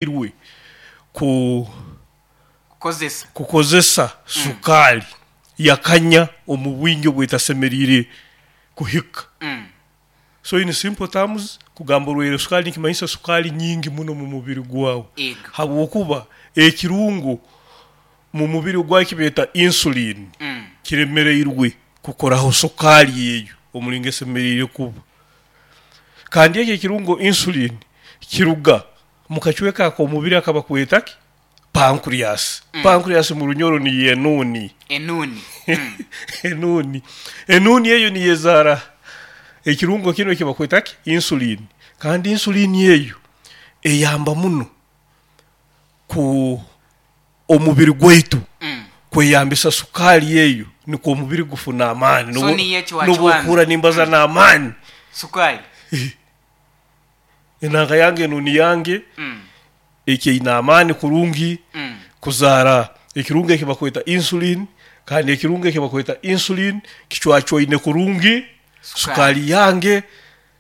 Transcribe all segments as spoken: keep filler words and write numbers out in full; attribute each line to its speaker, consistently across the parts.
Speaker 1: Irwe ku
Speaker 2: Kukozesa.
Speaker 1: Kukozesa sukaali yakanya omu bwingi obwetasemeriire kuhika.
Speaker 2: Mm.
Speaker 1: So in simple terms, kugamba orwaire sukaali nikimanyisa sukaali nyingi muno mumubiri gwaawe,
Speaker 2: Ego.
Speaker 1: habwokuba ekirungo mumubiri gwaawe ekibeeta insulin
Speaker 2: Mm.
Speaker 1: kiremereirwe kukoraho sukaali eyo omuringo esemeriire kuba. Kandi eki ekirungo insulin kiruga mukacweeka akomubiri akabakweeta ki? Pancreas.
Speaker 2: Mm.
Speaker 1: Pancreas murunyoro niyo enuuni.
Speaker 2: Enuuni. Mm.
Speaker 1: Enuuni. Enuuni eyo niyo ezaara ekirungo kinu ekibakweta ki? Insulin. Kandi insulin eyo eyamba muno ku omubiri gwaitu
Speaker 2: Mm.
Speaker 1: kweyambisa sukaali eyo nikwo omubiri gufuna amaani.
Speaker 2: So
Speaker 1: Nobu
Speaker 2: niyo ecwacwana.
Speaker 1: Nobu okuhurra nimbaza n'amaani.
Speaker 2: Sukaali.
Speaker 1: Enanga yange, enuuni yange
Speaker 2: Mm.
Speaker 1: ekyaine amaani kurungi
Speaker 2: Mm.
Speaker 1: kuzaara ekirungo ekibakweta insulin, kandi ekirungo ekibakweta insulin kicwacwaine kurungi sukaali yange,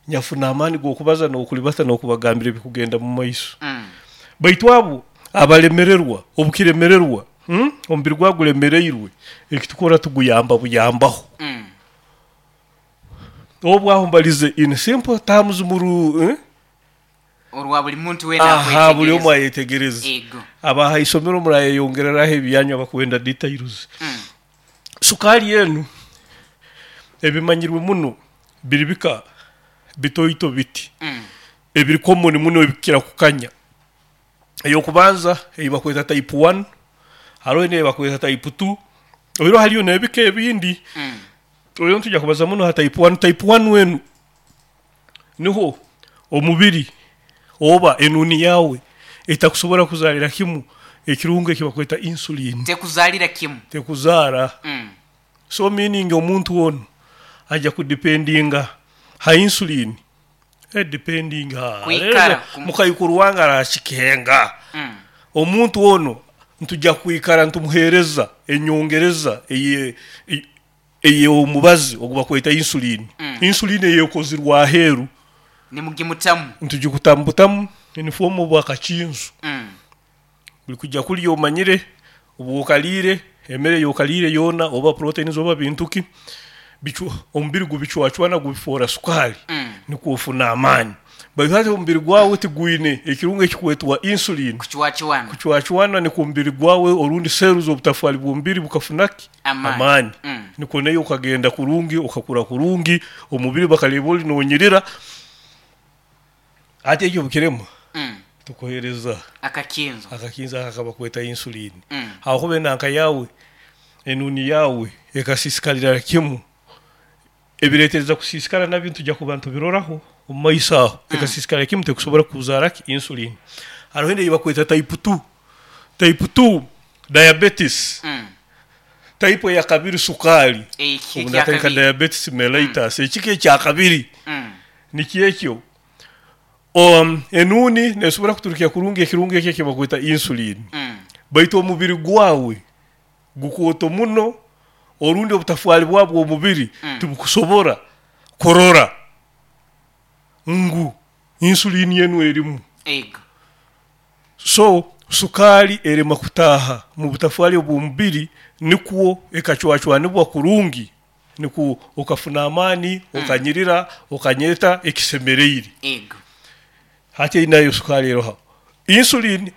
Speaker 1: nyafuna amaani g'okubaza n'okulibata n'okubagambira ebikugenda mumaiso.
Speaker 2: Mm.
Speaker 1: Baitu abo abalemererwa, obukiremererwa, hmm? Omubiri gwawe gulemereirwe, ekitukora tuguyamba buyambaho.
Speaker 2: Mm.
Speaker 1: Obu aho mbalize in simple terms muru, eh?
Speaker 2: Orwa buli muntu weena.
Speaker 1: Aha, buli omu
Speaker 2: akwetegereza.
Speaker 1: ayetegereze.
Speaker 2: Ego.
Speaker 1: Abaha isomero murayeyongereraho ebyanyu abakwenda details.
Speaker 2: Mm.
Speaker 1: Sukaali enu ebimanyirwe muno biri bika bitoito biti
Speaker 2: Mm.
Speaker 1: ebiri common muno ebikira kukanya. Eyokubanza ei bakweta type one, haroho neyi bakweta type two, oihireho hariyo n'ebika ebindi.
Speaker 2: Mm.
Speaker 1: Oihireho nitujya kubaza muno ha type one. Type one enu niho omubiri oba enuuni yaawe etakusobora kuzaalira kimu ekirungo eki bakweta insulin.
Speaker 2: Tekuzaalira kimu.
Speaker 1: Tekuzaara.
Speaker 2: Mm.
Speaker 1: So meaning omuntu onu aja kudependinga ha insulin, e depending ha
Speaker 2: Kwikara
Speaker 1: rero
Speaker 2: kum-
Speaker 1: mukaikuru wange arakikenga.
Speaker 2: Mm.
Speaker 1: Omuntu ono ntujya kwikara ntumuheereza enyongereza eye ey'omubazi ogu bakweta insulin.
Speaker 2: Mm.
Speaker 1: Insulin eyekozirwe aheeru.
Speaker 2: Nimugimutamu.
Speaker 1: Ntugikutambutamu in form of akakinzo.
Speaker 2: Mm.
Speaker 1: Buli kujya kulya omanyire obu okaliire emere ey'okaliire yoona, oba proteins oba bintu ki, bicu omubiri gubicwacwana gubifoora sukaali,
Speaker 2: Mm.
Speaker 1: nikwo ofuna amaani. Baitu hati omubiri gwawe tigwine ekirungo ekikwetwa insulin
Speaker 2: Kucwacwana.
Speaker 1: kucwacwana, nikwo omubiri gwawe orundi cells, obutafaali bw'omubiri bukafuna ki?
Speaker 2: Amaani.
Speaker 1: Amaani.
Speaker 2: Mm.
Speaker 1: Nikwo nayo okagenda kurungi, okakura kurungi, omubiri bakaleba oli nonyirira. Hati ekyo obukirema,
Speaker 2: Mm.
Speaker 1: tukuheereza
Speaker 2: akakinzo.
Speaker 1: Akakinzo aka kabakweta insulin.
Speaker 2: Mm.
Speaker 1: Hakuba enanka yawe, enuuni yawe ekasisikalira kimu, ebireetereza kusiisikara nabyo ntujya kuba ntubiroraho omu maiso aho, ekasiisikara kimu tekusobora kuzaara ki? Insulin. Haroho endi ei bakweta type two, type two diabetes.
Speaker 2: Mm.
Speaker 1: Type eyakabiri sukaali.
Speaker 2: Eki
Speaker 1: obu natandika
Speaker 2: ekyakabiri.
Speaker 1: Diabetes mellitus, ekika ekyakabiri
Speaker 2: Mm.
Speaker 1: nikyo ekyo, um, enuuni nesobora kuturukya kurungi ekirungo eki ekibakweta insulin,
Speaker 2: Mm.
Speaker 1: baitu omubiri gwawe gukooto muno orundi obutafaali bwabwo omubiri
Speaker 2: Mm.
Speaker 1: tibukusobora kurora ngu insulin enu erimu.
Speaker 2: Ego.
Speaker 1: So sukaali erema kutaaha mu butafaali obw'omubiri nikwo ekacwacwanibwa kurungi, nikwo okafuna amaani, okanyirira, okanyeta ekisemereire.
Speaker 2: Ego.
Speaker 1: Hati nayo sukaali eroha insulin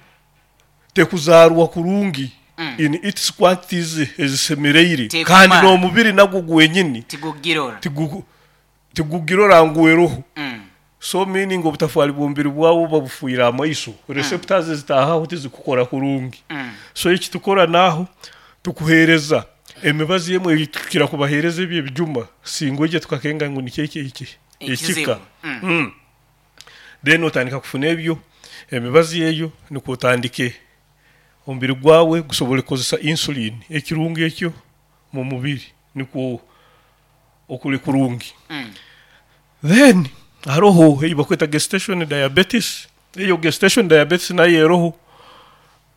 Speaker 1: tekuzaarwa kurungi
Speaker 2: Mm.
Speaker 1: in its quantities ezisemereire,
Speaker 2: Tekumara.
Speaker 1: kandi n'omubiri nagwo gwenyini
Speaker 2: tigugirora.
Speaker 1: tigu- tigugirora ngu eroho.
Speaker 2: Mm.
Speaker 1: So meaning obutafaali bw'omubiri bwawe buba bufiire amaiso, receptors ezitaahaho tizikukora kurungi.
Speaker 2: Mm.
Speaker 1: So eki tukora naaho tukuheereza emibazi emwe eitukira kubaheereza ebyo ebijuma singwije tukakenga ngu nikyo eki eki
Speaker 2: ekizibu.
Speaker 1: Ekika.
Speaker 2: Mm.
Speaker 1: Mm. Then otandika kufuna ebyo emibazi eyo nikwo otandike omubiri gwawe gusobole kukozesa insulin, ekirungo ekyo mu mubiri, nikwo okuli kurungi.
Speaker 2: Mm.
Speaker 1: Then haroho ei bakweta gestation diabetes. Eyo gestation diabetes nayo eroho,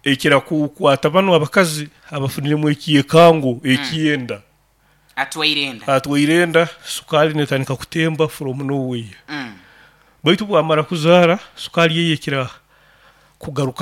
Speaker 1: ekira kukwata banu abakazi abafuniremu ekyekango ekyenda.
Speaker 2: Atwaire enda.
Speaker 1: Atwaire enda, sukaali netandika kutemba from nowhere.
Speaker 2: Mm.
Speaker 1: Baitu bwamara kuzaara sukaali ye ekira kugaruka.